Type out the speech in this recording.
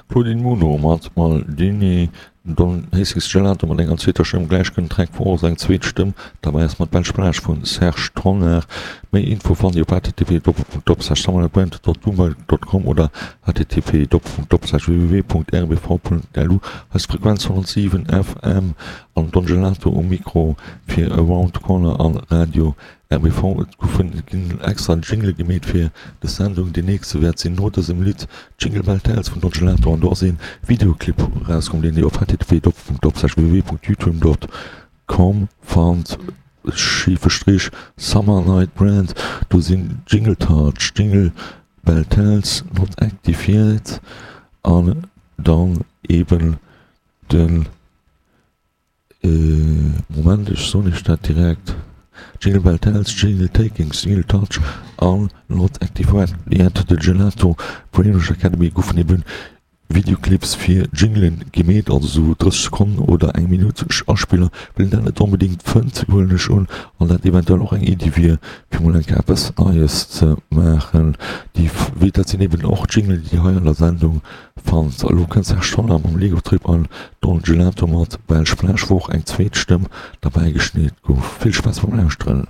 Claudine Muno mat Maldini, Don Hastings Gelato mat enger zweeter Stëmm, gläich kënnt Track 4 och eng zweet Stëmm derbäi ass mat Belsch Plage vun Serge Tonnar. Méi Info fannt Dir op http://summerbrand.bluemberg.com oder http://www.rbv.lu. Eis Frequenz 107 FM an Don Gelato um Mikro fir Around the Corner an Radio RBV, Et goufen, et ginn extra Jingle gemeet fir des Sendung. Deen nächste wäert sinn no dësem Lidd Jingle Bell Tales vun Don Gelato an do ass een Videoclip erauskomm, deen dir op http://www.youtube.com fannt, schife Strich Summer Night Brand. Do sinn Jingle Touch, Jingle Bell Tales, Not Active Yet an dann eben den. Moment, ech soen iech dat direkt, Jingle Bell Tales, Jingle Takings, Jingle Touch an Not Active Yet, de Gelato Brainwash Academy goufen eben Videoclips fir Jinglen gemeet, also sou 30 Sekonnen oder eng Minutt Aspiller. Well een dat net onbedingt fënnt, huelen ech un, an dat eventuell och eng Iddi wier, fir mol eng Kéier eppes Neies ze maachen. Déi, dat sinn eben och Jinglen, déi dir hei an der Sendung Fannt. Elo kënnt Serge Tonnar mam Lego Trip an Don Gelato mat Belsch Plage, wou och eng zweet Stëmm derbäi geschneet gouf. Vill Spaass beim Lauschteren!